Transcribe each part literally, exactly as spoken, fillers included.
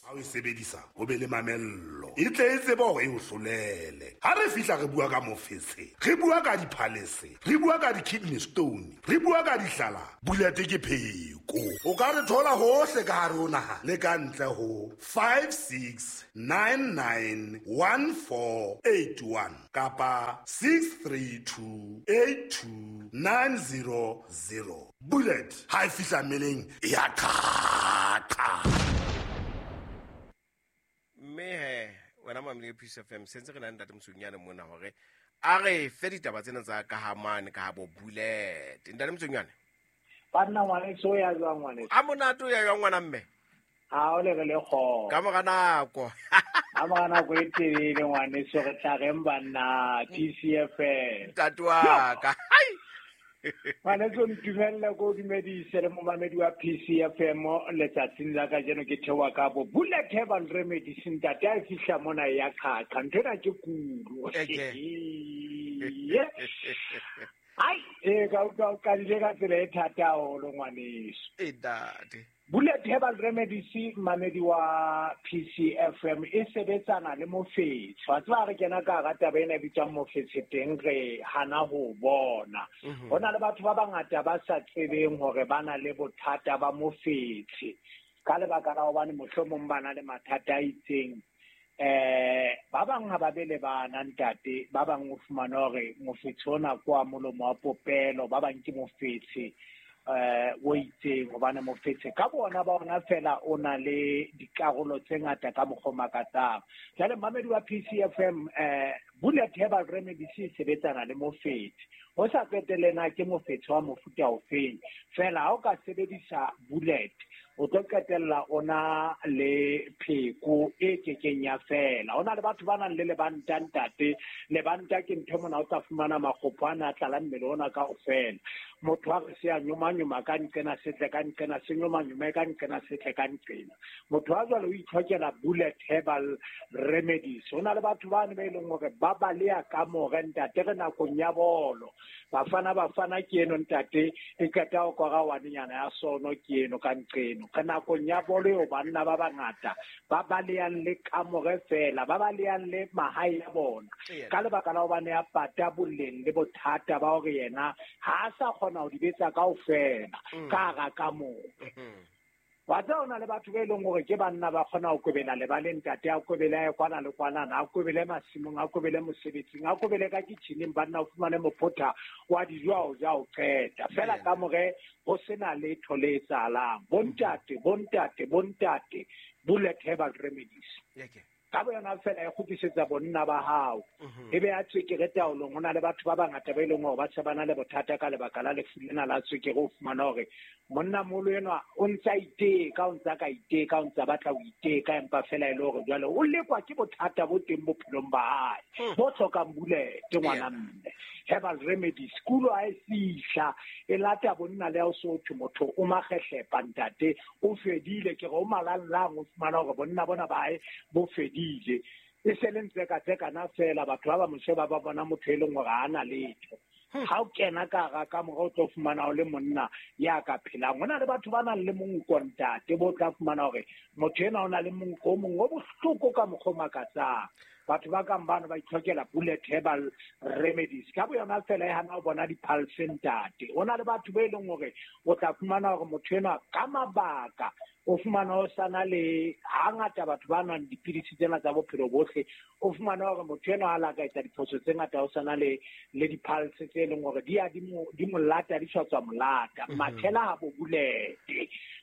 Ha o e sebedisa o be le mamello e tle e tsebe hore e o hlolele. Ha re fihla re bua ka mofetshe, re bua ka diphalese, re bua ka di-kidney stone, re bua ka dihlala, Bullet ke pheko. O ka re thola hohle ka hare ho naha le ka ntle ho five six nine nine one four eight one kapa six three two eight two nine zero zero. Bullet ha e fihla mmeleng e ya qhaqa. Mme he wena mamele Peace F M sentse re na le ntate Motsonyane mona hore a re fe ditaba tsena tsa ka ha mane ka ha bo Bullet. Ntate Motsonyane. Banna ngwaneso ya jwang ngwaneso? A monate o ya jwang ngwana mme? Ha o le re le kgo. Ka mora nako. Ka mora nako e telele ngwaneso re tla reng banna P C F M. Ntate wa ka. Hai. Ngwaneso ntumelle ko dumedise le momamedi wa P C F M letsatsing la kajeno ke theoha ka bo Bullet Herbal Remedies ntate a fihla mona ya qhaqa ntho ena ke kulo. Ai e ka utlwa o qadile ka tsela e thata haholo ngwaneso. E ntate. Bullet Herbal Remedies mamedi wa P C F M e sebetsana le mofetshe. Wa tseba re kena ka hara taba ena e bitswang mofetshe teng re hana ho bona. Ho na le batho ba bangata ba sa tsebeng hore ba na le bothata ba mofetshe ka lebaka la hobane mohlomong ba na le mathata a itseng. Eh ba bang ha ba be le bana ntate, ba bang o fumana hore mofetshe ona ke wa molomo wa popelo, ba bang ke mofetshe eh o itseng hobane mofetshe ka bona ba ona fela o na le dikarolo tse ngata ka mokgwa o makatsang. Jwale mamedi wa P C F M eh Bullet Herbal Remedies e sebetsana le mofetshe. Ho sa qetelle na ke mofetshe wa mofuta ofeng, fela ha o ka sebedisa Bullet o tlo qetella o na le pheko e kekeng ya fela. Ho na le batho ba nang le lebanta ntate, lebanta ke ntho mona o tla fumana makgopo ana a tlala mmele ona kaofela. Motho a re se a nyomanyoma ka nqena setle ka nqena se nyomanyome ka nqena setle ka nqena. Motho a jwalo o itlhokela Bullet Herbal Remedies. Ho na le batho bane ba e leng hore ba baleha kamore ntate re nakong ya bolo. Bafana bafana ke eno ntate e qeta ho kora wanenyana ya sono ke eno ka nqeno. Ka nakong ya bolo eo banna ba bangata ba balehang le kamore fela, ba balehang le mahae a bona. Ka lebaka la hobane ya pata boleng le bothata ba hore yena ha a sa kgona ho di betsa kaofela ka hara kamore. Wa tseba ho na le batho ba e leng hore ke banna ba kgona ho kobela lebaleng ntate, a kobele a ye kwana le kwana, a kobele masimong, a kobele mosebetsing, a kobele ka kitcheneng, banna o fumane mophotha wa dijo a o ja o qeta. Fela kamore ho sena letho le etsahalang. Bontate, bontate, bontate, Bullet Herbal Remedies. Ka boyona fela e kgutlisetsa bonna ba hao. E be ya tswekere taolong. Ho na le batho ba bangata ba e leng hore ba shebana le bothata ka lebaka la lefu lena la tswekere. O fumana hore monnamoholo enwa o ntsa iteka, o ntsa ka iteka, o ntsa batla ho iteka, empa fela e le hore jwale o lekwa ke bothata bo teng bophelong ba hae bo hlokang Bullet ngwana mme. Herbal Remedies kulo ha e fihla e lata bonna le ha o so thwe motho o makgehlepa ntate o fedile, ke re o malallang, o fumana hore bonna bona ba hae bo fedile. E se le ntse ka tsekana fela, batho ba ba mo sheba ba bona motho e leng hore ha ana letho. Ha o kena ka hara kamore o tlo fumana o le monna ya ka phelang. Ho na le batho ba nang le monko ntate, bo tla fumana hore motho enwa o na le monko o mong o bohloko ka mokgwa o makatsang. Batho ba kang bano ba itlhokela Bullet Herbal Remedies. Ka boyona fela e hana ho bona di-pulse ntate. Ho na le batho ba e leng hore o tla fumana hore motho enwa ka mabaka o fumana o sana le hangata batho ba nwang dipidisi tsena tsa bophelo bohle, o fumana hore motho enwa ha la ka etsa diphoso tse ngata o sana le le di-pulse tse leng hore di ya di mo di mo lata, di sa tswa molata. Mathela ha bo Bullet.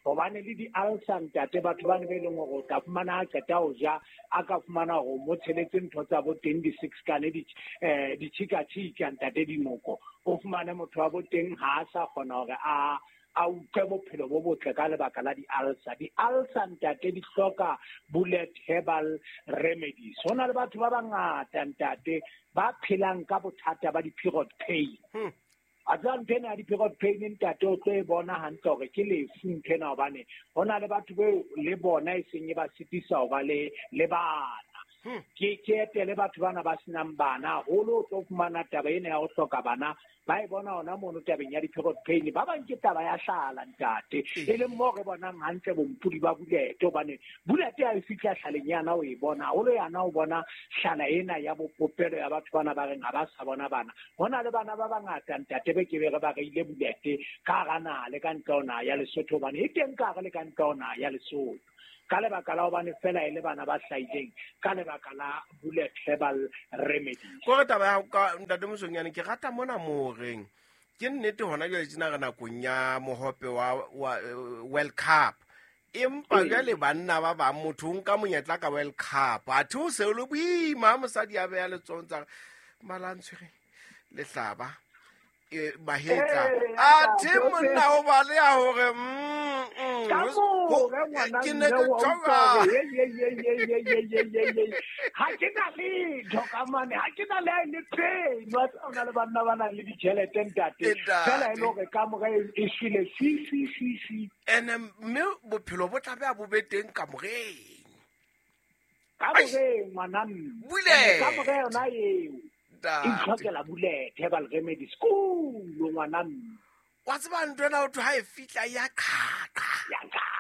Hobane le di-ulcer ntate, batho bane ba e leng hore o tla fumana a qeta ho ja, a ka fumana hore o mo tsheletse ntho tsa bo teng di-six kane, di, eh, ditjhikatjhika ntate dinoko. O fumane motho wa bo teng ha a sa kgona hore a a utlwe bophelo bo botle ka lebaka la di-ulcer. Di-ulcer ntate di hloka Bullet Herbal Remedies. Ho na le batho ba bangata ntate ba phelang ka bothata ba di-period pain. A tseba ntho ena ya di-period pain ntate o tlo e bona hantle hore ke lefu ntho ena, hobane ho na le batho beo le bona e seng e ba sitisa ho ba le, le bana. Ke ke etele batho bana ba senang bana haholo, o tlo fumana taba ena ya ho hloka bana ba e bona hona mono tabeng ya di-period pain. Ba bang ke taba ya hlala ntate, e leng moo re bonang hantle bompodi ba bulete, hobane bulete ha e fihla hlaleng yana o e bona haholo, yana o bona hlala ena ya bopopelo ya batho bana ba reng ha ba sa bona bana. Ho na le bana ba bangata ntate be ke be re ba reile bulete ka hara naha le ka ntle ho naha ya Lesotho, hobane e teng ka hare le ka ntle ho naha ya Lesotho, ka lebaka la hobane fela e le bana ba hlahileng ka lebaka la bullet herbal remedy. Kore taba ya ka ntate Mosonyane, ke rata mona mo reng ke nnete hona jwale tjena re nakong ya mohope wa, wa World Cup, empa jwale banna ba bang motho o nka monyetla ka World Cup, athe o se o le boima ha mosadi a beha letsohong tsa mala a ntshwere lehlaba mahetla, athe monna o baleha hore ke ne ke tsoga ha ke na letho ka mane, ha ke na le ha e le pain. Wa tseba o na le banna ba nang le ditjhelete ntate, fela e le hore kamore e shwele fi fi fi fi. Ene mme bophelo bo tlameha bo be teng kamoreng, kamoreng ngwana mme, kamore yona eo e itlhokela bullet herbal remedy school ngwana mme. Wa tseba ntho ena ho thwe ha e fihla ya qhaqa, ya qhaqa.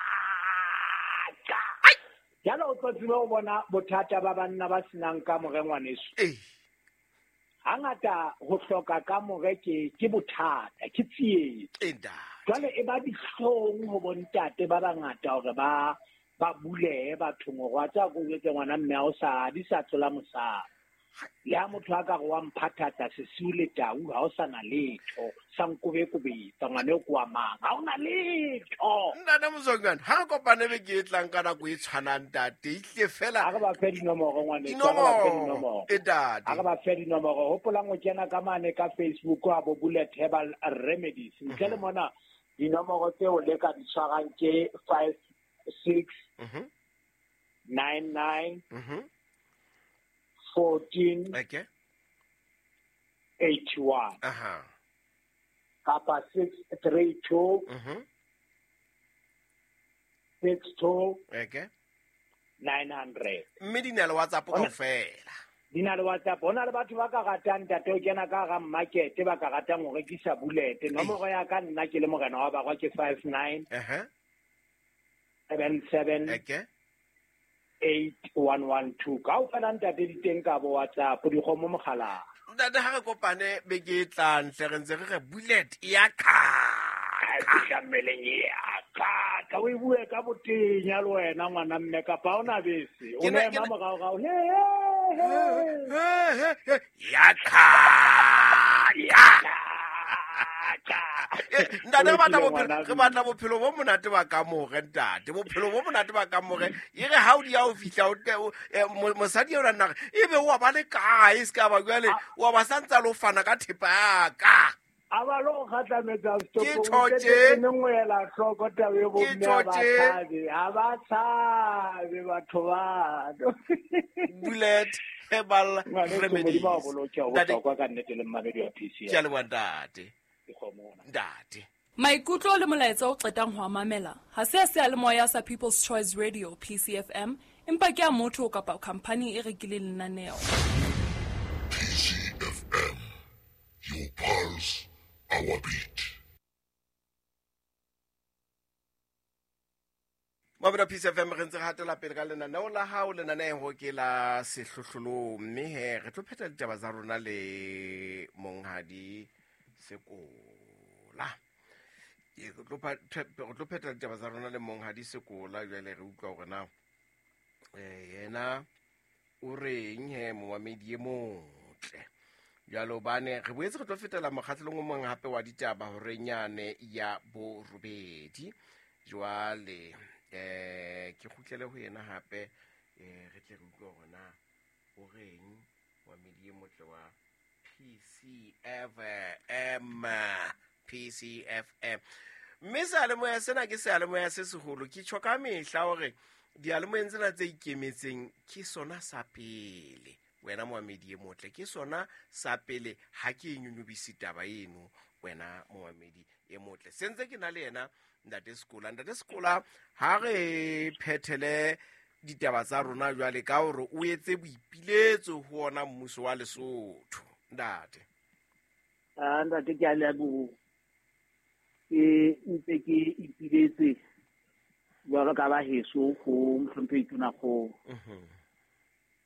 Jalo o tlo tsebe ho bona bothata ba banna ba senang kamore ngwaneso. Hangata ho hloka kamore ke ke bothata, ke tsietsi. Jwale e ba dihlong ho bontate ba bangata hore ba ba bulehe bathong hore wa tseba ko jwetse ngwana mme ha o sa di sa tlola mosadi. Le ha motho a ka re wa mphathatsa sesiu le tau, ha o sa na letho, sa nkobekobetsa ngwana eo ke wa mang, ha o na letho. Ntate Mosonyane, ha re kopane beke e tlang ka nako e tshwanang ntate, ehlile fela ha re ba fe dinomoro ngwaneso, ha re ba fe dinomoro. E ntate. Ha re ba fe dinomoro. Hopolang ho kena ka mane ka Facebook a bo Bullet Herbal Remedies. Ntle le mona dinomoro tseo le ka di tshwarang ke five six nine nine fourteen okay eighty one aha kapa six three two mhm six two okay nine hundred. Mme di na le WhatsApp kaofela. Di na le WhatsApp. Ho na le batho ba ka ratang ntate o kena ka hara market, ba ka ratang ho rekisa bullet. Nomoro ya ka nna ke le morena wa barwa ke five nine aha seven seven okay eight one one two. Kaofela ntate di teng ka bo WhatsApp, dikgomo mogala. Ntate ha re kopane beke e tlang hle, re ntse re re bullet ya qhaqa. E fihla mmeleng ya qhaqa. O e bue ka botenya le wena ngwana mme, kapa ha ona bese. O ne ema moraorao. He he he ya qhaqa. Ntate re batla bophelo, re batla bophelo bo monate ba kamore ntate, bophelo bo monate ba kamore. E re ha o di ya o fihla o mosadi eo nna re ebe wa ba le kae, se ka ba jwale wa ba santsa lo fana ka thepa ya ka. A ba lo kgatlametsa Ke stopong, tjho ke nngwe ela hloko taba e bo Ke mme ha ba tjho tje. tshabe, ha ba tshabe batho bano. Bullet Herbal Ngwaneso, Remedies. Modimo a o boloke, ho Ntate, bohlokwa ka nnete le mmamedi wa P C ke a leboha ntate. Dikgomo ona. Ntate. Maikutlo le molaetsa o qetang ho a mamela ha se a seyalemoya sa People's Choice Radio P C F M, empa ke a motho kapa khampani e rekileng lenaneo. P C F M, your pulse, our beat. Mabura P C F M re ntse re hatela pele ka lenaneo la hao, lenaneo ke la sehlohlolong, mme he re tlo phetha ditaba tsa rona le monghadi Sekola. Ke re tlo pha-, re tlo phetha ditaba tsa rona le monghadi Sekola. Jwale re utlwa hore na, eh, yena o reng he momamedi e motle. Jwale hobane re boetse re tlo fetela mokgahlelong o mong hape wa ditaba horeng yane ya borobedi. Jwale, eh, ke kgutlele ho yena hape, eh, re tle re utlwe hore na o reng momamedi e motle wa P C F M, P C F M. Mme seyalemoya sena ke seyalemoya se seholo. Ke tjho ka mehla hore diyalemoyeng tsena tse ikemetseng ke sona sa pele. Wena momamedi e motle, ke sona sa pele. Ha ke e nyonyobise taba eno, wena momamedi e motle. Se ntse ke na le yena Ntate Sekola. Ntate Sekola, ha re phethele ditaba tsa rona jwale ka hore o etse boipiletso ho ona mmuso wa Lesotho ntate. Ah ntate ke a leboha. Ke ntse ke ipiletse jwalo ka ba heso ho Mohlomphehi Tonakgolo.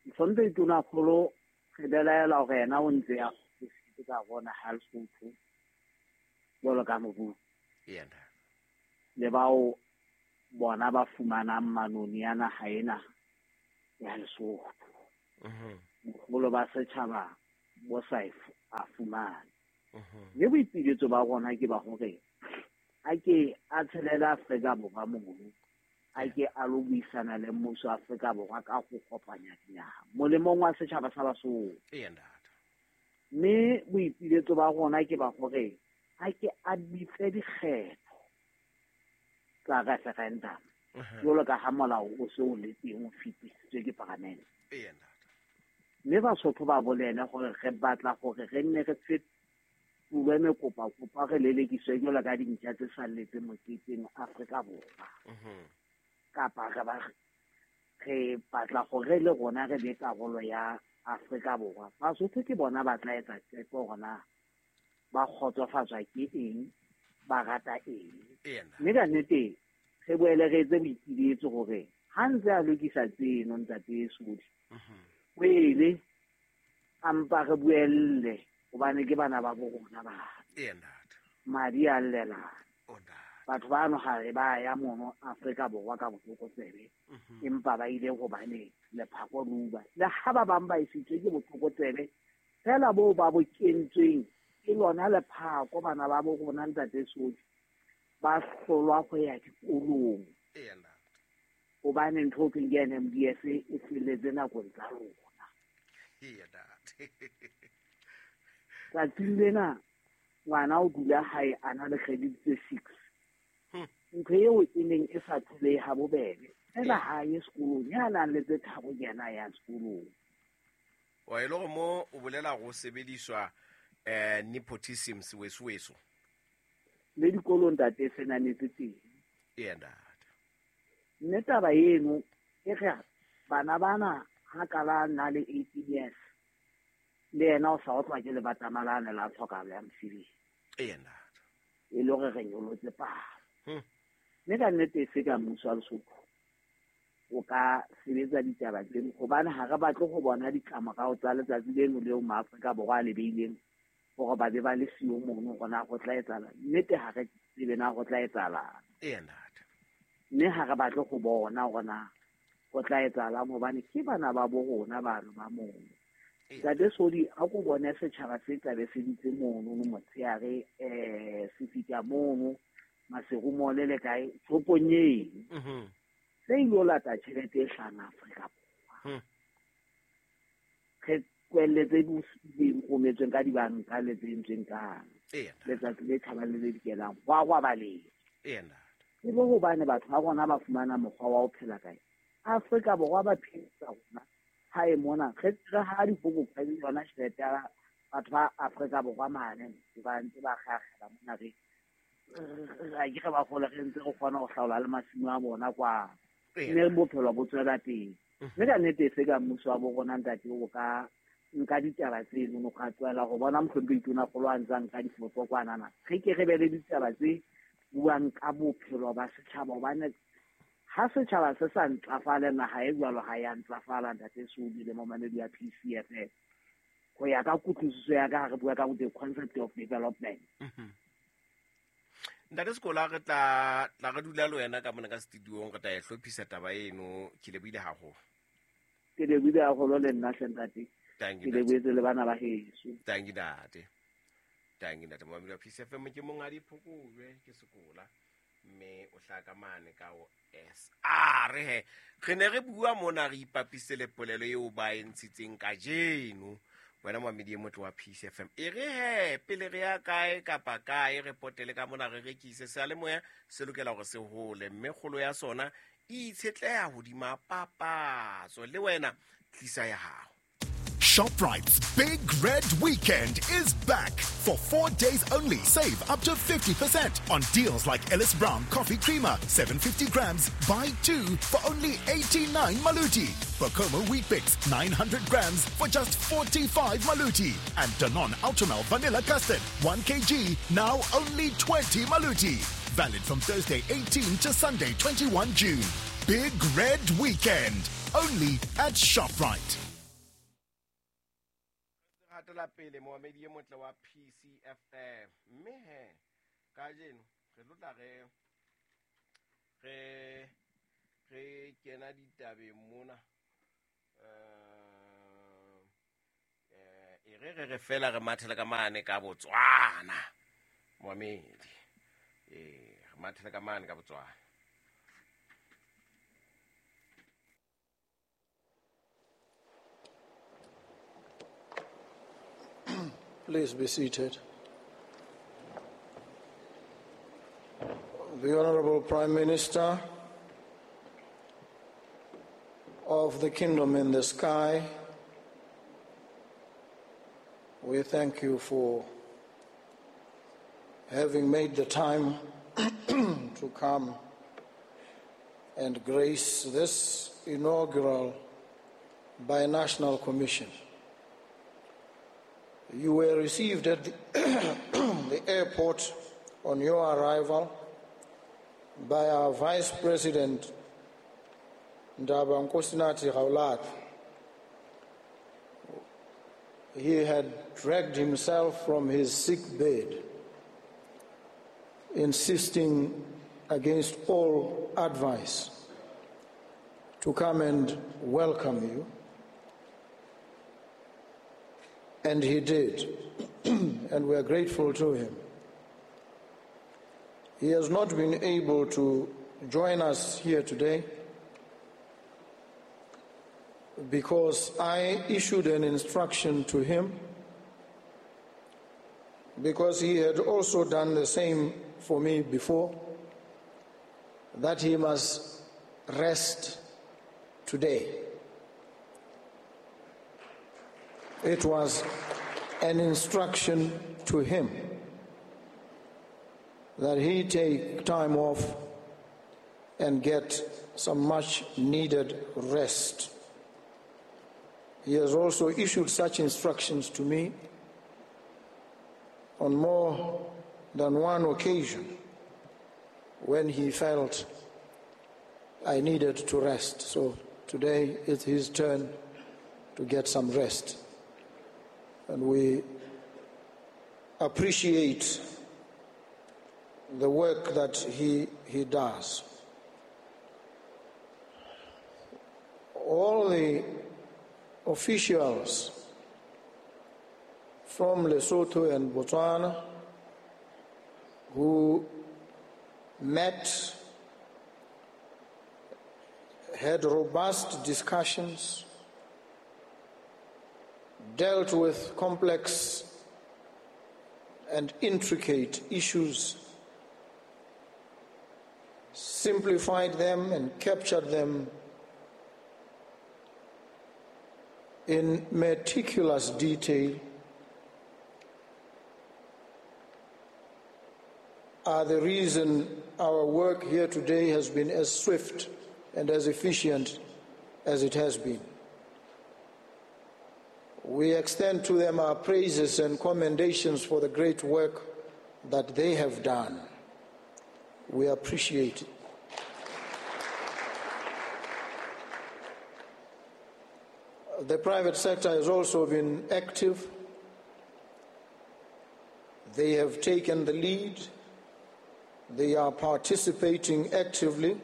Mohlomphehi Tonakgolo re belaela hore yena o ntse a kgutlisitse ka rona ha Lesotho jwalo ka mobu. Yena le bao bona ba fumanang manoni ya naha ena ya Lesotho. Boholo ba setjhaba bo sa a fumane. Mme boipiletso ba rona ke ba hore a ke a tshelela Afrika Borwa mono, a ke a lo buisana le mmuso wa Afrika Borwa ka ho kopanya dinaha molemong wa setjhaba sa Basotho. Mme boipiletso ba rona ke ba hore a ke a bitse dikgetho tsa referendum jwalo ka ha molao o se o le teng o fetisitswe ke paramente. Mme Basotho ba bolele hore re batla hore re nne re fetolwe mekopakopa re lelekiswe jwalo ka dintja tse salletseng moketeng Afrika Borwa. Kapa re ba re batla hore le rona re be karolo ya Afrika Borwa. Basotho ke bona ba tla etsa qeto hore na ba kgotsofatswa ke eng, ba rata eng. Mme ka nnete re boele re etse boipiletso hore ha ntse a lokisa tseno ntate Sodi, o ele a mpa re buelle hobane ke bana ba bo rona ba. Madi a llelana. Batho bano ha re ba ya mono Afrika Borwa ka botlokotsebe, empa ba ile hobane lephako le uba. Le ha ba bang ba isitswe ke botlokotsebe fela boo ba bo kentsweng ke lona lephako bana ba bo rona ntate Sodi ba hlolwa ho ya dikolong. Hobane ntho e thweng ke N M D S e felletse nakong tsa rona. Tsatsing lena ngwana o dula hae a na le credit tse six. Ntho eo e neng e sa tholehe ha bobebe. Fela ha ye sekolong, ya nang le tse tharo ke yena a yang sekolong. Wa e le hore mo o bolela go sebediswa eh nepotism sewesoweso. Le dikolong ntate se nametse teng. Ee ntate. Mme taba eno e re bana bana ha ka la na le eighteen years le yena o sa otlwa ke lebatama lane la tlhokahalo ya mosebetsi. Ee ntate. E le hore re nyolotse palo. Mme ka nnete e se ka mmuso wa Lesotho o ka sebetsa ditaba tseno hobane ha re batle ho bona ditlamorao tsa letsatsi leno leo maAfrika Borwa a le beileng hore ba be ba le siyo mono hore na ho tla etsahala. Nnete ha re tsebe na ho tla etsahalang. Ee ntate. Mme ha re batle ho bona hore na ho tla etsahalang hobane ke bana ba bo rona bano ba mono. Ntate Sodi, ha ko bone setjhaba se tla be se ditse mono motshehare eh se fihla mono Maseru mole le kae shopong eno. Se ilo lata tjhelete e hlahang Afrika Borwa. Re kwelletse di rometsweng ka dibanka le tse entsweng ka letsatsi le tjhabang le le dikelang ho a rwabaleng. Ke bo hobane batho ba rona ba fumana mokgwa wa ho phela kae Afrika Borwa ba phedisa rona hae mona re re ha dipoko ka yona tjhelete ya batho ba Afrika Borwa mane ba ntse ba kgakgela mona re a ke re ba gole re ntse re kgona ho hlaola le masimo a bona kwa mme bophelo bo tswela pele. Mme ka nnete e se ka mmuso wa bo rona ntate o ka nka ditaba tseno no ka tswela go bona Mohlomphehi Tonakgolo a ntse a nka difoto kwanana. Re ke re be le ditaba tse buang ka bophelo ba setjhaba hobane ha setjhaba se sa ntlafale naha e jwalo ha ya ntlafala ntate Sodi le momamedi ya P C F M. Ho ya ka kutlwisiso ya ka ha re bua ka the concept of development. Ntate Sekola re tla tla re dula le wena ka mona ka studiong re tla e hlophisa taba eno. Ke lebohile haholo. Ke lebohile haholo le nna hle ntate. Thank you. Ke lebohetse le bana ba heso. Thank you ntate. Thank you ntate. Momamedi wa P C F M ke monghadi Phokojwe ke Sekola mme o hlaka mane ka o S R he. Re ne re bua mona re ipapise le polelo eo ba e ntshitseng kajeno. Wena momamedi e motle wa P C F M. E re he pele re ya kae kapa kae re potele ka mona re rekise seyalemoya se lokela hore se hole mme kgolo ya sona e itshetleha hodima papatso. Le wena tlisa ya hao. ShopRite's Big Red Weekend is back. For four days only, save up to fifty percent on deals like Ellis Brown Coffee Creamer, seven hundred fifty grams, buy two for only eighty-nine Maluti. Bokomo Weet-Bix, nine hundred grams for just forty-five Maluti. And Danone Ultramel Vanilla Custard, one kilogram, now only twenty Maluti. Valid from Thursday eighteenth to Sunday twenty-first June. Big Red Weekend, only at ShopRite. Hatela pele moamedi e motle wa P C F M mme he kajeno re tlotla re re re kena ditabeng mona eh e re re re fela re mathela ka mane ka Botswana moamedi eh re mathela ka mane ka Botswana. Please be seated. The Honorable Prime Minister of the Kingdom in the Sky, we thank you for having made the time to come and grace this inaugural binational commission. You were received at the, the airport on your arrival by our Vice President, Ndaba Nkosinathi Gaolathe. He had dragged himself from his sick bed, insisting against all advice to come and welcome you. And he did, and we are grateful to him. He has not been able to join us here today because I issued an instruction to him, because he had also done the same for me before, that he must rest today. It was an instruction to him that he take time off and get some much needed rest. He has also issued such instructions to me on more than one occasion when he felt I needed to rest. So today it's his turn to get some rest. And we appreciate the work that he, he does. All the officials from Lesotho and Botswana who met, had robust discussions, dealt with complex and intricate issues, simplified them and captured them in meticulous detail, are the reason our work here today has been as swift and as efficient as it has been. We extend to them our praises and commendations for the great work that they have done. We appreciate it. The private sector has also been active. They have taken the lead. They are participating actively,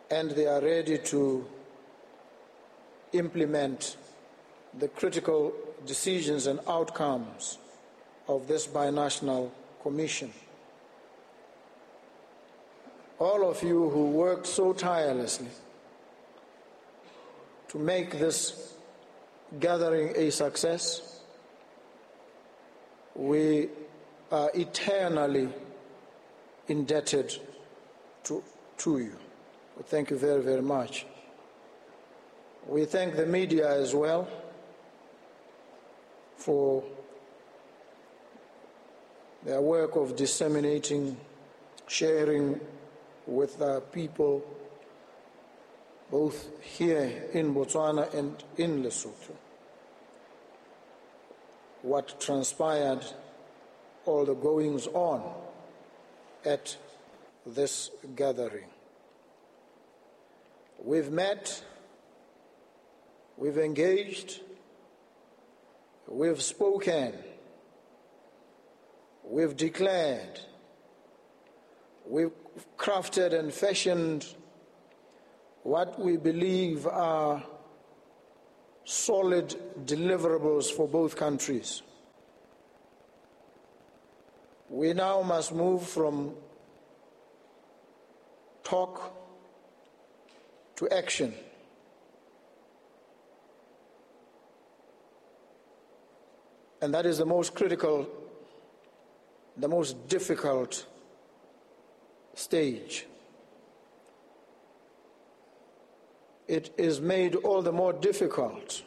and they are ready to implement the critical decisions and outcomes of this binational commission. All of you who worked so tirelessly to make this gathering a success, we are eternally indebted to, to you. Thank you very, very much. We thank the media as well for their work of disseminating, sharing with the people, both here in Botswana and in Lesotho, what transpired, all the goings on at this gathering. We've met, we've engaged, we've spoken, we've declared, we've crafted and fashioned what we believe are solid deliverables for both countries. We now must move from talk to action. And that is the most critical, the most difficult stage. It is made all the more difficult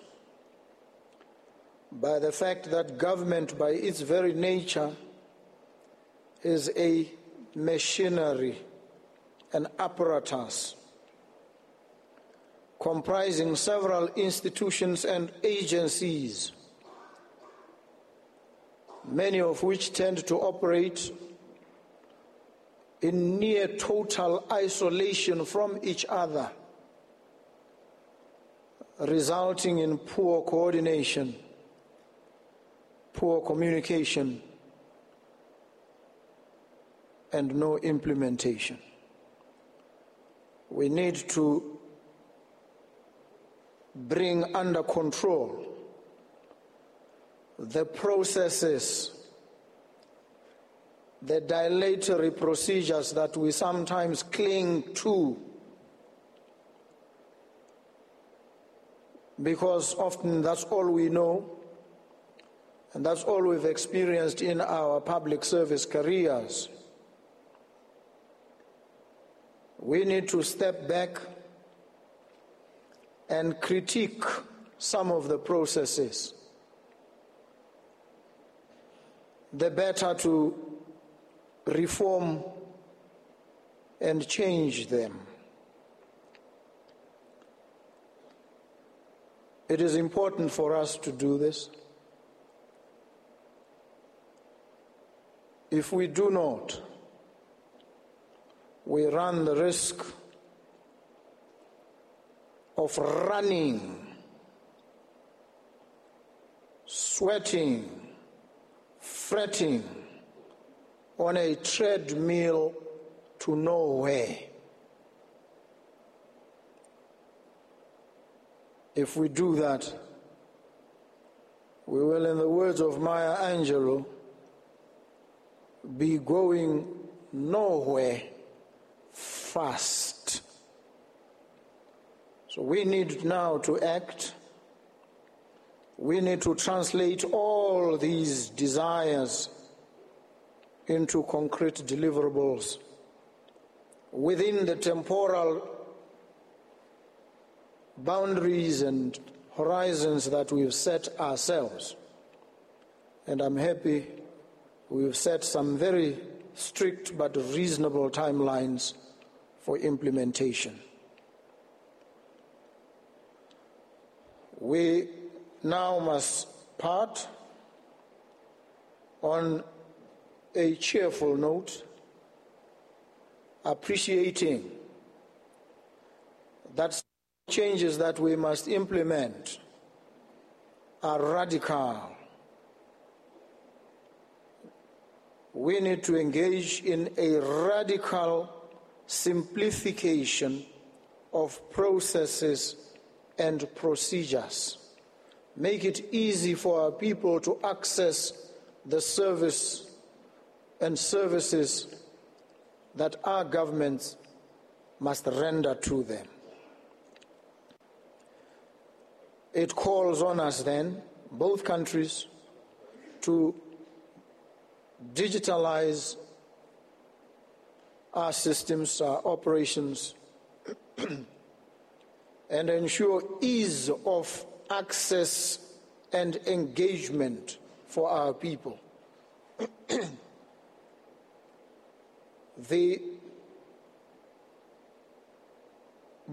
by the fact that government, by its very nature, is a machinery, an apparatus, comprising several institutions and agencies, many of which tend to operate in near total isolation from each other, resulting in poor coordination, poor communication, and no implementation. We need to bring under control the processes, the dilatory procedures that we sometimes cling to, because often that's all we know and that's all we've experienced in our public service careers. We need to step back and critique some of the processes, the better to reform and change them. It is important for us to do this. If we do not, we run the risk of running, sweating, fretting on a treadmill to nowhere. If we do that, we will, in the words of Maya Angelou, be going nowhere fast. So we need now to act. We need to translate all these desires into concrete deliverables within the temporal boundaries and horizons that we've set ourselves. And I'm happy we've set some very strict but reasonable timelines for implementation. We now must part on a cheerful note, appreciating that changes that we must implement are radical. We need to engage in a radical simplification of processes and procedures. Make it easy for our people to access the service and services that our governments must render to them. It calls on us then, both countries, to digitalize our systems, our operations, and ensure ease of access and engagement for our people. The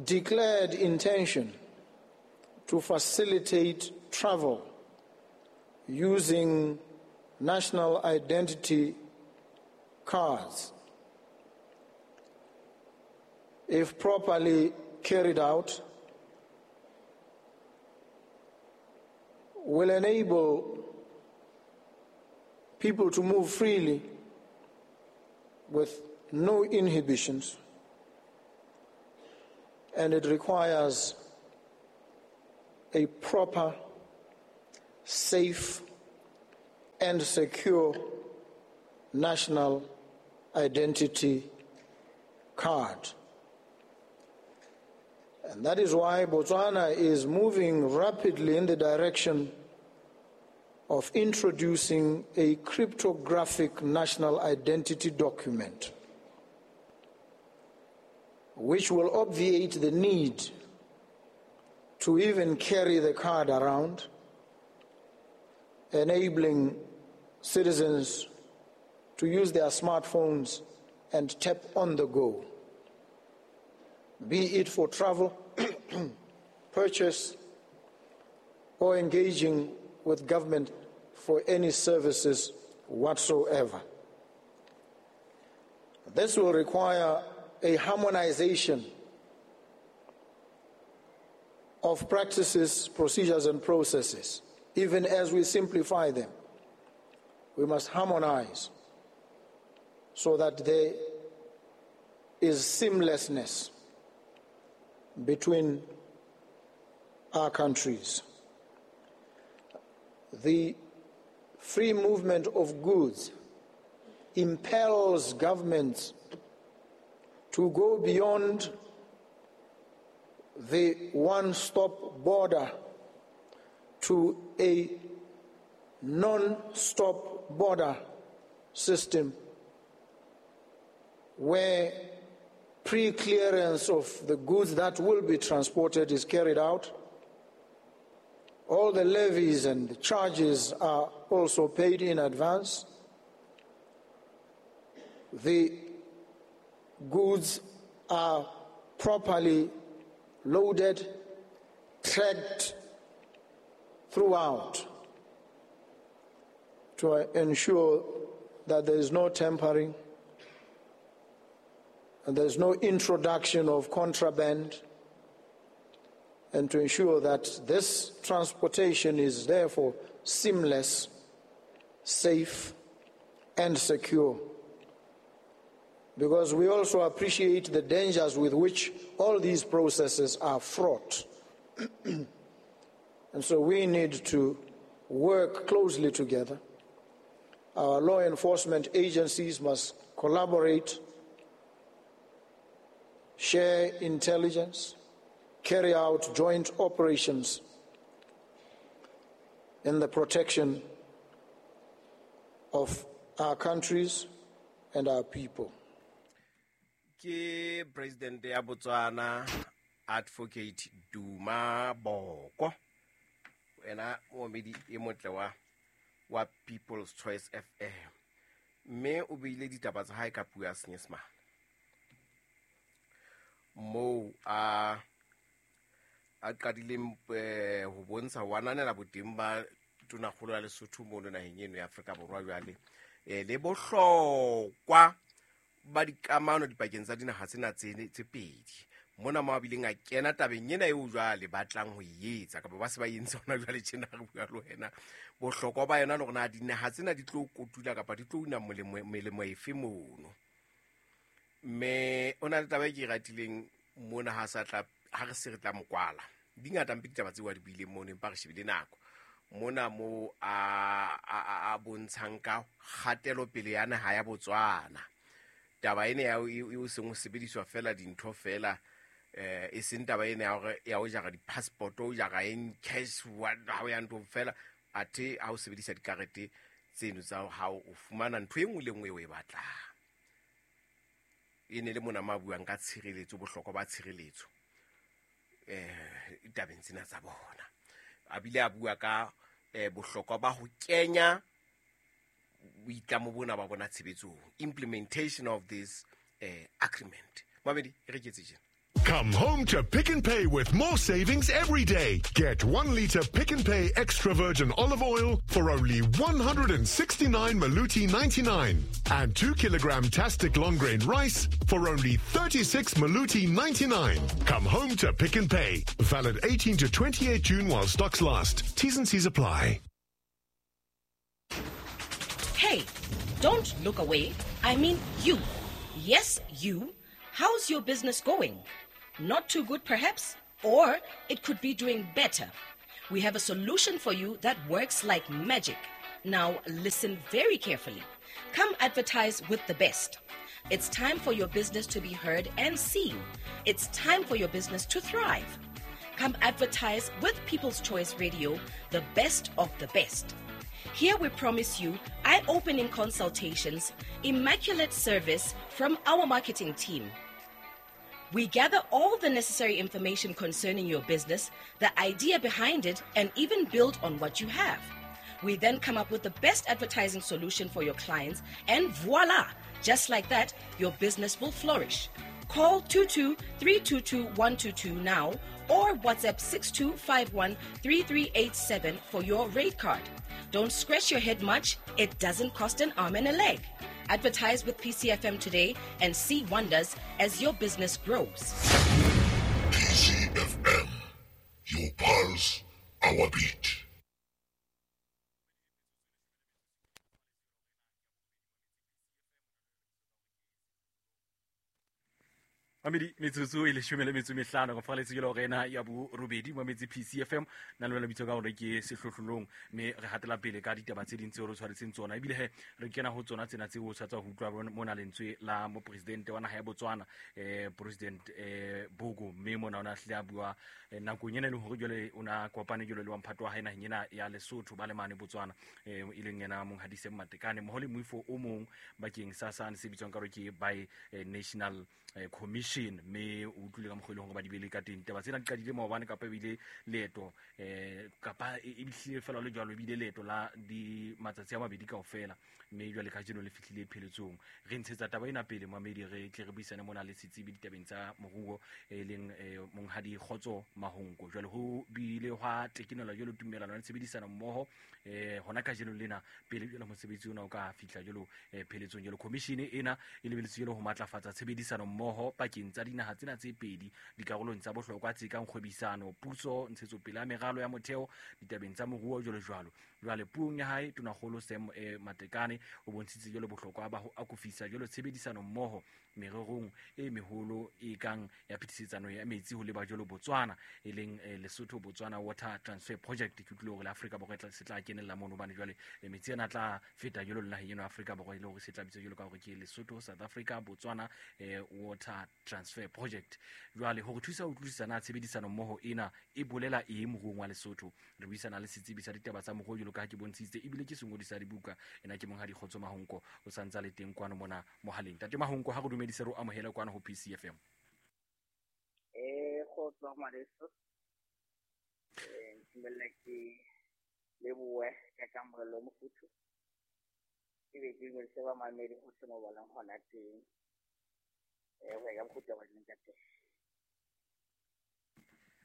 declared intention to facilitate travel using national identity cards, if properly carried out, will enable people to move freely with no inhibitions, and it requires a proper, safe, and secure national identity card. And that is why Botswana is moving rapidly in the direction of introducing a cryptographic national identity document, which will obviate the need to even carry the card around, enabling citizens to use their smartphones and tap on the go, be it for travel, purchase, or engaging with government for any services whatsoever. This will require a harmonization of practices, procedures, and processes. Even as we simplify them, we must harmonize so that there is seamlessness between our countries. The free movement of goods impels governments to go beyond the one-stop border to a non-stop border system where pre-clearance of the goods that will be transported is carried out. All the levies and the charges are also paid in advance. The goods are properly loaded, tracked throughout to ensure that there is no tampering and there is no introduction of contraband, and to ensure that this transportation is therefore seamless, safe, and secure. Because we also appreciate the dangers with which all these processes are fraught. And so we need to work closely together. Our law enforcement agencies must collaborate, share intelligence, carry out joint operations in the protection of our countries and our people. Ke President ya Botswana Advocate Duma Boko, ena moomedi e motle wa wa People's Choice F M, mme o beile ditaba tsa hae ka puo ya Senyesemane moo a a qadileng ho bontsha ho ananela boteng ba tonakgolo ya Lesotho mono naheng eno ya Afrika Borwa jwale le bohlokwa ba dikamano dipakeng tsa dinaha tsena tse pedi. Mona mo a bileng a kena tabeng ena eo jwale ba tlang ho e etsa kapa ba se ba entse hona jwale tjena re bua le wena, bohlokwa ba yona le hore na dinaha tsena di tlo kotula kapa di tlo una molemo melemo efe mono. Mme o na le taba e ke e ratileng mona ha sa tla ha re se re tla mokwala di ngata mpe ditaba tseo a di buileng mono, empa re shebile nako mona mo a a a bontshang ka kgatelopele ya naha ya Botswana. Taba ena ya o seng ho sebediswa fela dintho fela, eh e seng taba ena ya hore ya o jara di-passport, o jara eng cash ha o ya nthong fela, athe ha o sebedisa dikarete tseno tsa hao o fumana ntho e nngwe le nngwe eo o e batlang. E ne le mona ma buang ka tshireletso, bohlokwa ba tshireletso eh ditabeng tsena tsa bona. A bile a bua ka eh bohlokwa ba ho kenya boitlamo bona ba bona tshebetsong, implementation of this eh agreement. Mamedi e re ketse tjena. Come home to Pick n Pay with more savings every day. Get one litre Pick n Pay extra virgin olive oil for only one hundred sixty-nine Maluti ninety-nine and two kilogram Tastic long grain rice for only thirty-six Maluti ninety-nine. Come home to Pick n Pay. Valid eighteen to twenty-eight June while stocks last. T's and C's apply. Hey, don't look away. I mean you. Yes, you. How's your business going? Not too good, perhaps, or it could be doing better. We have a solution for you that works like magic. Now, listen very carefully. Come advertise with the best. It's time for your business to be heard and seen. It's time for your business to thrive. Come advertise with People's Choice Radio, the best of the best. Here we promise you eye-opening consultations, immaculate service from our marketing team. We gather all the necessary information concerning your business, the idea behind it, and even build on what you have. We then come up with the best advertising solution for your clients, and voila! Just like that, your business will flourish. Call two two three two two one two two now or WhatsApp six two five one three three eight seven for your rate card. Don't scratch your head much. It doesn't cost an arm and a leg. Advertise with P C F M today and see wonders as your business grows. P C F M, your pulse, our beat. Mamedi metsotso e leshome le metso mehlano go faletse ke le rena ya bo robedi mo metsi P C F M na le bitso ka hore ke sehlohlolong mme re hatela pele ka ditaba tse ding tseo re tshwaretseng tsona ebile he re kena ho tsona tsena tseo o tshwatsa ho utlwa mona lentswe la mo president wa naha ya Botswana eh president eh Boko mme mona ona hle a bua nakong ena le hore jwale ona kopane jwale le wa mphato wa hae naheng ena ya Lesotho ba le mane Botswana eh e leng yena monghadi Sam Matekane mmoho le moifo o mong bakeng sa sane se bitswang ka hore ke by National Commission me o utlwile ka mokgwa e leng hore ba di bele ka teng taba tsena di qadile maobane kapa ebile leeto eh kapa e bihlile fela le jwalo ebile leeto la di matsatsi a mabedi kaofela mme jwale kajeno le fihlile pheletsong re ntshetsa taba ena pele mamedi re tle re buisane mona le setsebi ditabeng tsa moruo e leng monghadi Kgotso Mahonko jwale ho bile hwa tekenela jwalo tumelano le tshebedisano mmoho eh hona kajeno lena pele jwale mosebetsi ona o ka fihla jwalo pheletsong jwalo commission ena e lebeletse jwalo ho matlafatsa tshebedisano mmoho pakeng tsa dinaha tsena tse pedi dikarolong tsa bohlokwa tse kang kgwebisano puso ntshetsopele ya meralo ya motheo ditabeng tsa moruo jwalo jwalo jwale puong ya hae tonakgolo Sam eh, Matekane o bontshitse jwalo bohlokwa ba ho akofisa jwalo tshebedisano mmoho mererong e meholo e kang ya phetisetsano ya metsi ho leba jwalo Botswana e leng eh, Lesotho Botswana Water Transfer Project ke utlwile hore la Afrika Borwa se tla kenella mono hobane jwale metsi ana tla feta jwalo le naheng eno Afrika Borwa e le hore se tla bitswa jwalo ka hore ke Lesotho South Africa Botswana eh, Water Transfer Project jwale hore thusa ho utlwisisa na tshebedisano mmoho ena e bolela eng moruong wa Lesotho re buisana le setsebi sa ditaba tsa moruo jwalo ka ha ke bontshitse ebile ke sengodi sa dibuka ena ke monghadi Kgotso Mahonko o santsa le teng kwano mona mohaleng tate Mahonko ha re dumedise re amohele kwano ho P C F M eh Kgotso ngwaneso eh ntumella ke leboe ka kamorelo mofuthu ke be ke dumedise ba mamedi ho se mo balang hona teng eh ho ya ka mokgotsi wa leng ka teng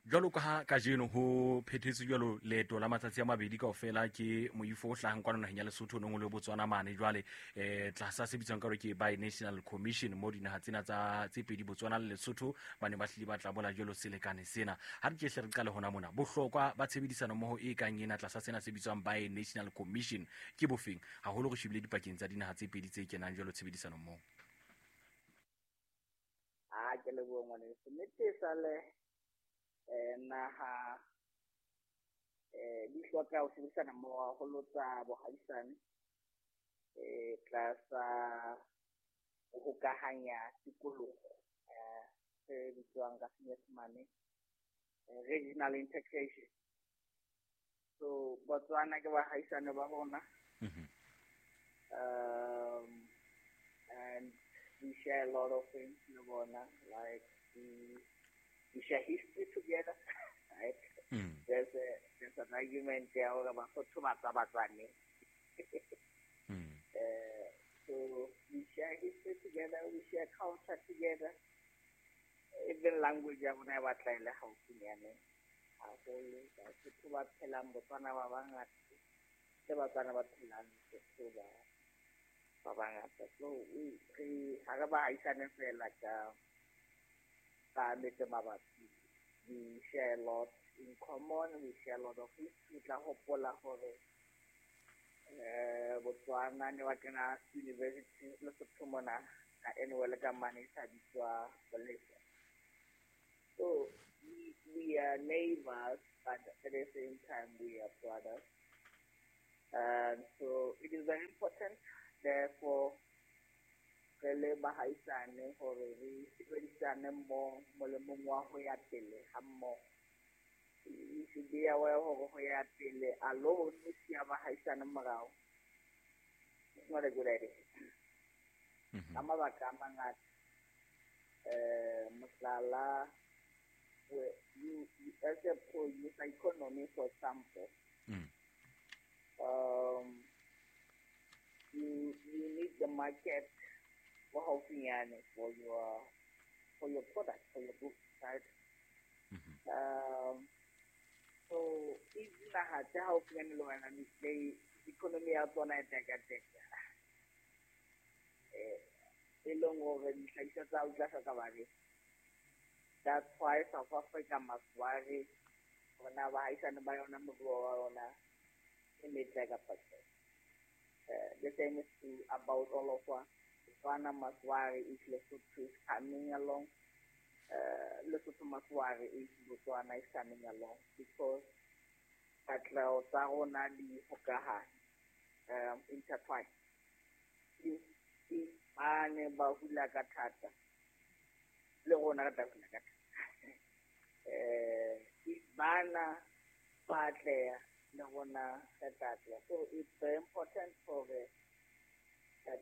jwalo ka ha kajeno ho phethetse jwalo leeto la matsatsi a mabedi kaofela ke moifo o hlahang kwano naheng ya Lesotho nong le Botswana mane jwale eh tlasa se bitswang ka hore ke by National Commission mo dinaha tsena tsa tse pedi Botswana le Lesotho ba ne ba hlile ba tla bola jwalo selekane sena ha re ke hle re qale hona mona bohlokwa ba tshebedisano mmoho e kang ena tlasa sena se bitswang by National Commission ke bofeng haholo re shebile dipakeng tsa dinaha tse pedi tse kenang jwalo tshebedisano mmoho a ke leboha ngwaneso nnete sale eh naha eh di hloka ho sebedisana mmoho haholo tsa bohaisane eh tlasa ho hokahanya tikoloho eh se bitswang ka Senyesemane regional integration so Botswana ke bahaisane ba rona um and we share a lot of things le bona like the We share history together, right? Mm. There's a, there's an argument there hore Basotho ba tswa Batswaneng. Mm. Uh, so we share history together, we share culture together. Even language ya rona e batla e le haufinyane haholo. Basotho ba phelang Botswana ba bangata, le Batswana ba phelang Lesotho ba ba bangata. So we re ha re baahisane feela ka ka metse mabapi. We share a lot in common, we share a lot of history. Tla hopola hore eh Botswana ne ba kena university Lesotho mona ka annual ka mane e sa bitswa Bolivia. So we, we are neighbors, but at the same time we are brothers. And so it is very important, therefore, re le bahaisane hore re sebedisane mmoho molemong wa ho ya pele ha mmoho. We should be aware hore ho ya pele alone o siya bahaisane morao. It's not a good idea. Ka mabaka a mangata, eh, mohlala, you, you, as a producer economy, for example, mm. um, you, you need the market for haufinyane for your for your product, for your goods, right? Mm-hmm. Um, so if naha tse haufinyane le wena, the economy ya tsona e tekateka, eh, e leng hore dihlahiswa tsa hao di tla hloka bareki. That's why South Africa must worry hore na baahisane ba yona moruo wa yona e metle kapa tjhe. Uh, the same is true about all of us. Botswana must worry if Lesotho is coming along. Uh, Lesotho must worry if Botswana is coming along, because katleho tsa rona di hokahane, um, intertwined. If, if ba ne ba hula ka thata, le rona re tla hula ka thata. Eh, if bana ba atleha, le rona re tla atleha. So it's very important for the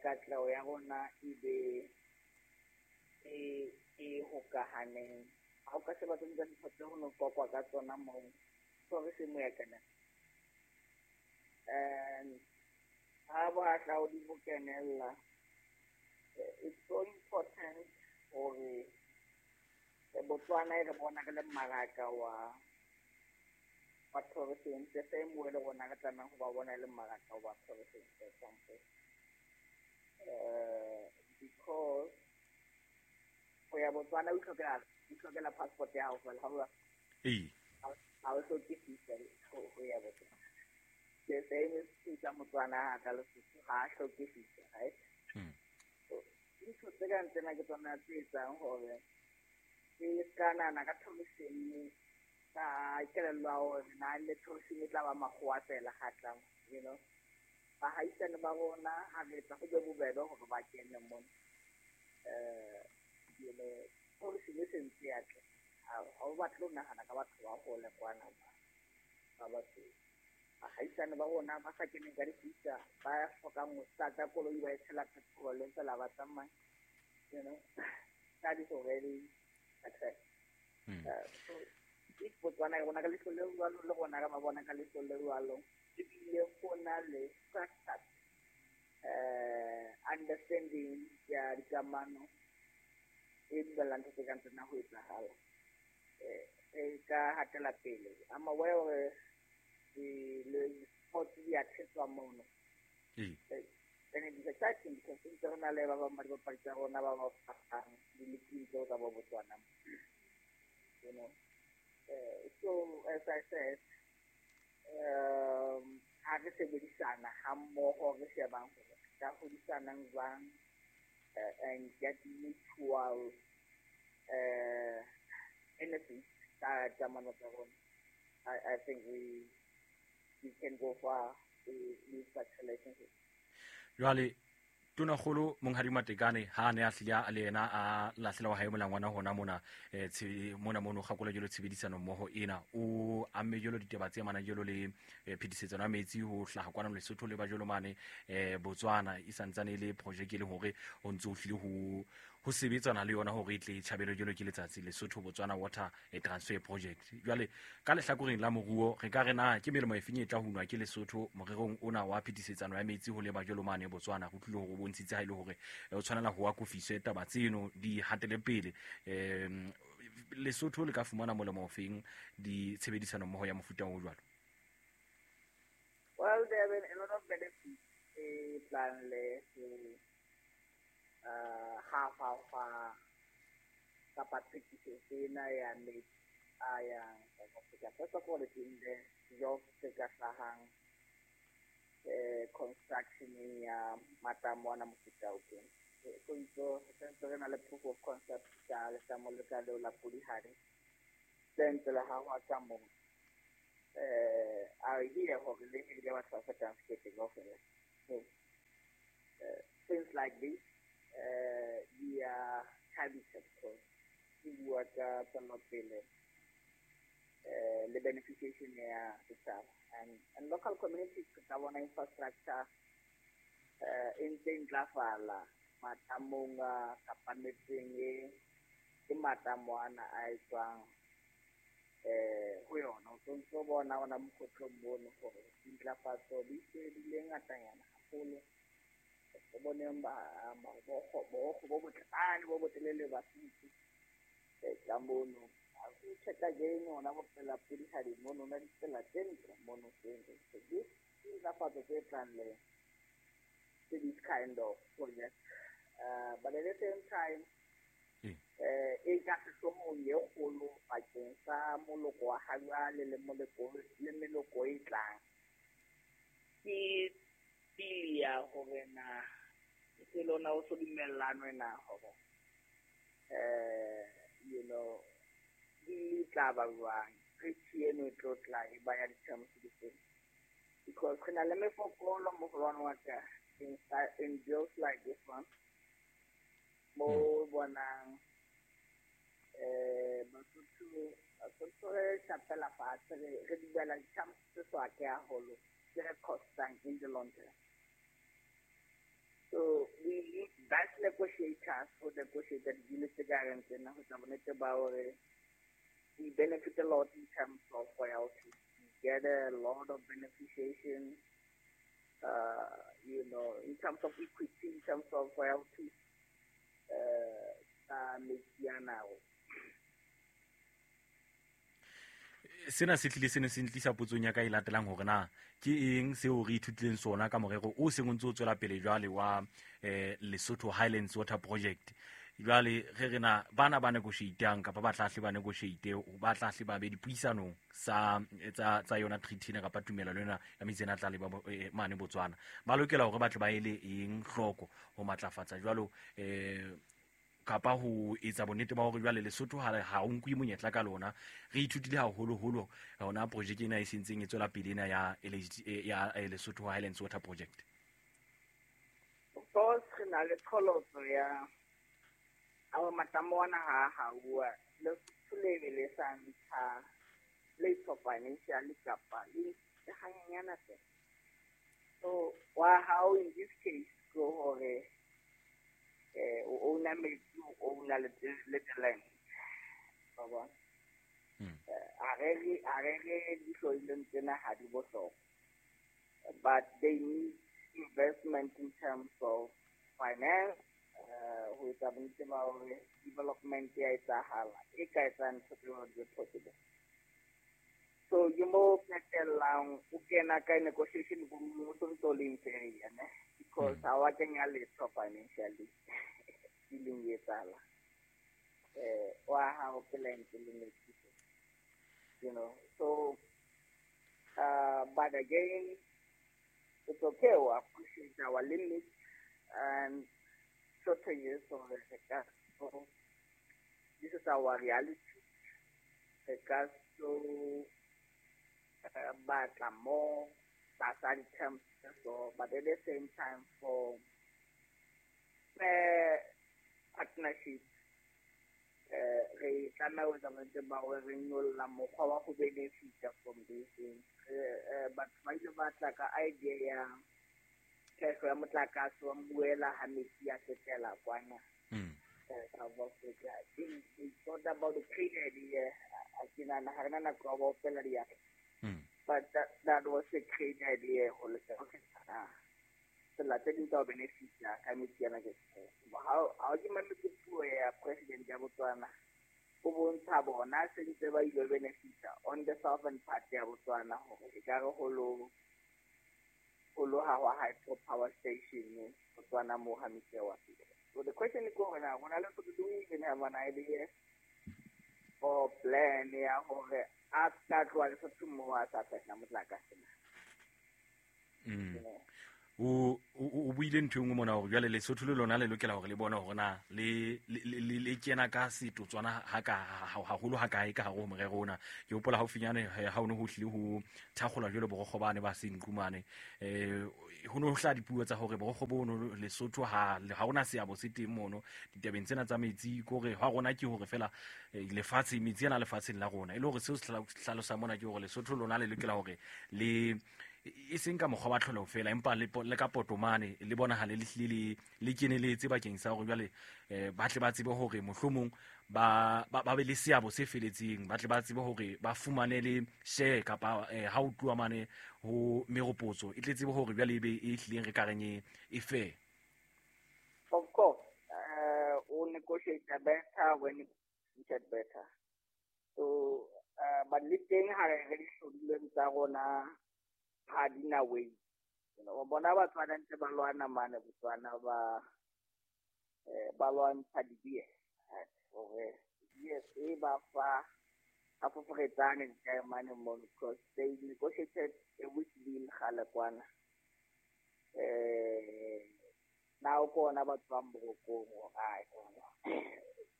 katleho ya rona e be e e hokahaneng. Ha o ka sheba tse ding tsa dintho tseo ho no qoqwa ka tsona moo, tourism ya kena. And ha bohahlaudi bo kenella, it's so important hore Botswana e re bona re le mmaraka wa wa tourism, the same way le rona re tlamehang ho ba bona e le mmaraka wa tourism, for example. Uh, because ho ya Botswana o itlhokela o itlhokela passport ya hao feela, ha o Ee. ha o hloke visa ho ho ya Botswana. The same is true ka Motswana ha tla Lesotho, ha a hloke visa, right? Mm. So dintho tse kang tsena ke tsona tse etsang hore ke ska nahana ka tourism ka kelello ya hore na le tourism e tla ba makgowa feela ha tlang, you know. Bahaisane ba rona ha re etsa ho be bobebe hore ba kene mona. Eh, you know, tourism e sentse ya tle. Ha o batle ho nahana ka batho ba hole kwana ba ba batho. Bahaisane ba rona ba sa keneng ka di-visa, ba hlokang ho start-a koloi ba e tshela petrol feela ba tsamaya, you know. That is already success. Mm. Uh, so if Botswana re bona ka leihlo le jwalo, le rona re ba bona ka leihlo le jwalo, ebile ho na le structured uh, understanding ya dikamano e dumellang ntho tse kang tsena ho etsahala. Eh, e ka hatela pele. I'm aware hore di-sports di a thetswa mono. Ee. Eh, and it is exciting because ntse re na le ba bang ba dibapadi tsa rona ba ba fapang di-league tseo tsa bo Botswana. You know. Uh, so as I said, um, ha re sebedisana ha mmoho re shebang hore re ka hodisanang jwang, uh, and get mutual uh, benefits ka kamano tsa rona. I, I think we we can go far with, with such relationships. Jwale Tonakgolo Monghadi Matekane ha ne a hlile a le yena a lahlela wa hae molangwana hona mona eh mona mono kgakola jelo tshebedisano mmoho ena o amme jelo ditaba tse mana jelo le phetisetsano ya metsi ho hlaha kwana Lesotho le ba jelo mane eh Botswana e santsane le project e le hore o ntse o hlile ho ho sebetsana le yona hore e tle e tjhabelwe jwalo ke letsatsi Lesotho Botswana Water Transfer Project. Jwale ka lehlakoreng la moruo re ka re na ke melemo efeng e tla hunwa ke Lesotho morerong ona wa phetisetsano ya metsi ho leba jwalo mane Botswana? Go tlile hore o bontshitse ha ile hore o tshwanela ho akofiswe taba tseno di hatele pele. Em Lesotho le ka fumana molemo ofeng di tshebedisano mmoho ya mofuta o jwalo? Well, there have been a lot of benefits e tlang le uh half half kapa thekisetso ena ya metsi a yang South Africa. First of all, it's in the jobs tse ka hlahang eh construction ya matamo ana mofuta o teng. So ntso sentse re na le proof of concept ka letamo le ka leo la Polihali le ntse le hahwa ka moo. Eh a hear hore le hirile batho ba fetang sekete kaofela. So uh, things like this uh di a thabisa because di bua ka tswelopele eh le beneficiation ya setjhaba and and local communities ka bona infrastructure eh e ntse e ntlafala matamong a kapa metseng e ke matamo ana a etswang eh ho yona. O ntso bona ona mokgotlong mono hore dintlafatso di se di le ngatanyana haholo. O boneng ba bo bo botlane bo botelele ba sitse ka mono. A go checka again ona bo pela Polihali mono na ditsela tse ntle mono tse ntle. So this dintlafatso tse tlang le this kind of project, uh, but at the same time eh e ka sehloohong e kgolo bakeng sa moloko wa ha jwale le moloko le meloko e tlang ke pili ya hore na ke lona o so dumellanwe na hore eh you know di tla ba jwang treaty eno e tlo tla e ba ya di-terms di feng, because re na le mefokolo moholwane wa ka in, in deals like this one mo bonang eh Basotho Basotho re shapela fatshe re dumela di-terms tse so ake haholo tse re costang in the long term. So we need best negotiators for negotiate the deal tse ka reng tsena ho tla bonnete ba hore we benefit a lot in terms of royalties. We get a lot of beneficiation, uh, you know, in terms of equity, in terms of royalties, uh, tsa metsi ana. Sena se tlile sene se ntlisa potsong ya ka e latelang hore na ke eng seo re ithutileng sona ka morero o seng o ntse o tswela pele jwale wa eh, Lesotho Highlands Water Project. Jwale re re na bana ba negotiatang kapa ba tla hle ba negotiate ba tla hle ba be dipuisanong sa tsa tsa yona treaty ena kapa tumelano ena ya metsi ena tla le ba mane Botswana ba lokela hore ba tle ba ele eng hloko ho matlafatsa jwalo eh kapa ho etsa bonnete ba hore jwale Lesotho ha ha o nkwe monyetla ka lona. Re ithutile haholoholo hona project ena e sentseng e tswela pele ena ya ya Lesotho Highlands Water Project. Of course re na le qholotso ya our matamo ana ha hauwa Lesotho le be le sa ntsha letho financially kapa le hanyenyana fela. So wa how in this case go hore eh o owner metsi o owner le le land ba bona a re re a re re dihlodileng tsena ha di bohlokwa, but they need investment in terms of finance ho etsa bonnete ba hore development ya etsahala e ka etsang ntho tse di possible. So you mo qetellang o kena ka negotiation room o ntso le inferior ne, because ha wa kenya letho financially dealing e etsahala eh wa hao ke land le metsi, you know. So uh, but again it's okay, we appreciate our limits and shortages of the sector. So this is our reality. Because so uh, batla more tlasa di-terms so, but at the same time for fair partnership eh re tlameha ho etsa bonnete ba hore re nyolla mokgwa wa ho benefita from these things. Batho ba ile ba tla ka idea ya theko ya motlakase wa mbuela ha metsi a fetela kwana. South Africa. It's not about the great idea. I can but that that was a great idea. Tsela tse ding tsa ho benefit-a ka metsi ana ke ha ha ke mametse puo ya president ya Botswana o bontsha bona se ntse ba ile benefit-a on the southern part ya Botswana hore e ka re ho lo ho lo ha hwa hydro power station Botswana mo ha metsi wa fihla. So the question is gore na rona le do we even have an idea or plan ya hore a ka tloha Lesotho mo a sa fehla motlakase na? Mm. O o buile ntho e nngwe mona hore jwale Lesotho le lona le lokela hore le bone hore na le le le kena ka setotswana ha ka haholo ha kae ka hare ho morero ona. Ke hopola haufinyane ha o ne ho hlile ho thakgolwa jwale borokgo bane ba Senqumane, eh ho ne ho hlaha dipuo tsa hore borokgo bono Lesotho ha ha hona seabo se teng mono ditabeng tsena tsa metsi, ke hore ha rona ke hore fela lefatshe metsi ana lefatsheng la rona, e le hore seo se hlalosa mona ke hore Lesotho lona le lokela hore le e seng ka mokgwa wa tlholeho fela empa le le ka potomane le bonahale le hlile le le keneletse bakeng sa hore jwale eh ba tle ba tsebe hore mohlomong ba ba be le seabo se feletseng, ba tle ba tsebe hore ba fumane le share kapa ha o tluwa mane ho meropotso e tle tsebe hore jwale e be e hlileng re ka reng e fair. Of course, uh, o negotiate better when you get better. So uh, but le teng ha re re dihlodilweng tsa rona ha di na way. You know, bona Batswana ntse ba lwana mane Botswana ba eh ba lwantsha di-B S hore B S e ba fa a foforetsane mane mono because they negotiated a weak deal kgale kwana. Eh now kona ba tswang borokong hore ai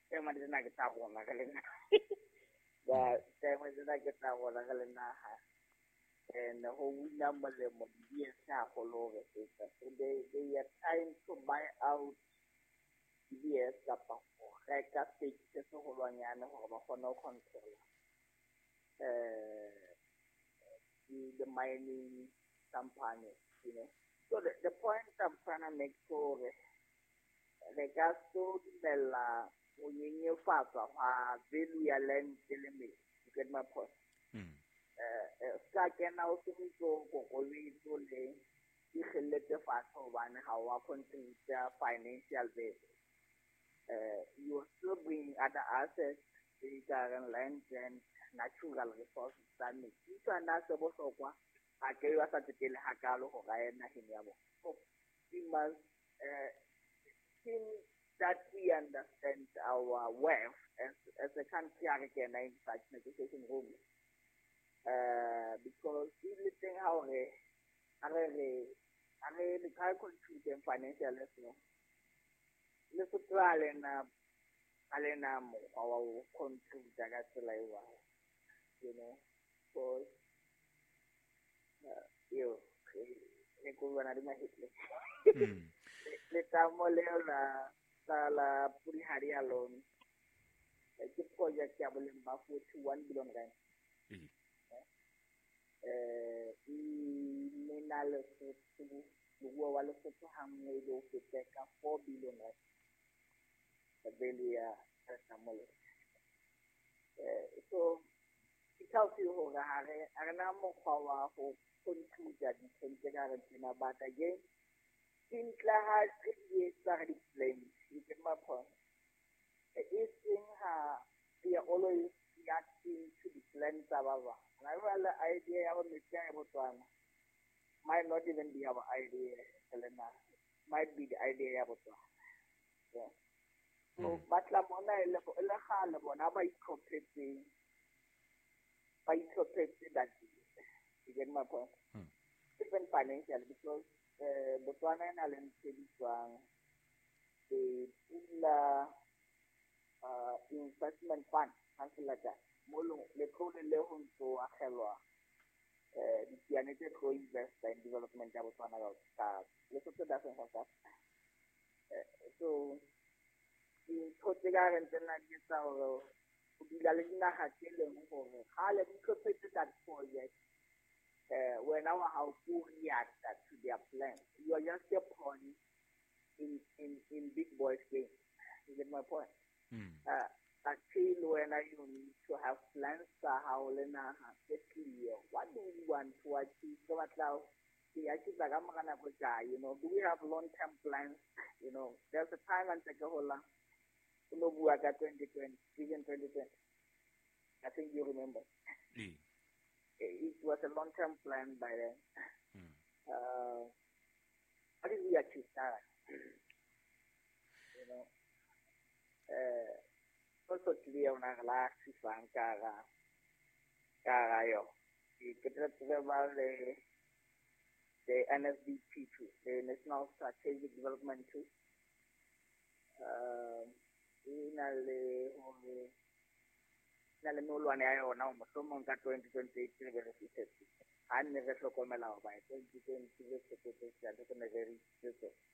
tema tsena ke tsa rona re le naha. Ba tema tsena ke tsa rona re le naha. And ho wina molemo di-B S haholo hore feta. So they they are trying to buy out D B S kapa ho reka stake se seholwanyane hore ba kgone ho control eh the mining company, you know. So the, the point I'm trying to make hore re ka so dumella ho nyenyefatswa hwa value ya land le metsi. You get my point? Mm. Eh ska kena o sentso kokobetso le ikgelletse fatshe hobane ha wa contribute financial base. Uh, you are still bringing other assets tse kareng land and natural resources tsa metsi. Ntho ana se bohlokwa ha ke ba sa tsetele hakalo hore a ye naheng ya bona. So we must uh, think that we understand our worth as, as a country ha re kena in such negotiation room. Uh, because everything how re re re re ka contribute financially so Lesotho ha le na ha le na mokgwa wa ho contribute ka tsela e jwalo, you know, because uh, eo re ko bona di mahetle. Letamo leo la la la Purihari alone ke project ya boleng ba forty-one billion rand. Eh e na Lesotho moruo wa Lesotho ha nngwe le ho feta ka four billion rand value ya letamo leo. Eh so it tells you hore ha re ha re na mokgwa wa ho contribute dinthong tse ka reng tsena, but again dintle ha re di etsa re di-blame. You get my point? E seng ha we are always reacting to the plans tsa ba bang. And I realize the idea ya metsi a Botswana might not even be our idea, Helena. Might be the idea ya Botswana. Yeah. So batla mona e le kgale bona ba itlhophetseng ba itlhophetse that deal. You get my point? Mm. Even financially, because uh, Botswana e na le ntho e bitswang the Pula uh, Investment Fund, something like that. Mo letlole le ho ntso akgelwa eh ditsiane tse tlo investa in development ya Botswana ka Lesotho doesn't have that. So dintho tse ka reng tsena di etsa hore ho dula le dinaha tse leng hore kgale di itlhophetse that project. Eh wena wa hao ko react to their plan. You are just a pawn in in in big boys game. You get my point? Uh, Actually, when you need to have plans tsa hao le naha tse clear. What do we want to achieve? Ke batla ho achieve ka mora nako e kae, you know? Do we have long-term plans? You know, there's a time ntse ke hola, o no bua ka twenty twenty, Vision twenty twenty. I think you remember. Ee. It was a long-term plan by then. Uh, how did we achieve that? You know, uh, also clear on our last ka hara ka hara yona. Ke tla tseba le the N S D P two, the National Strategic Development two. Uh, e na le hore na le melwane ya yona hore mohlomong ka twenty twenty-eight re be re fihletse. Ha nne re hlokomela hore by twenty twenty re tshepetse re ne re reachitse tsona.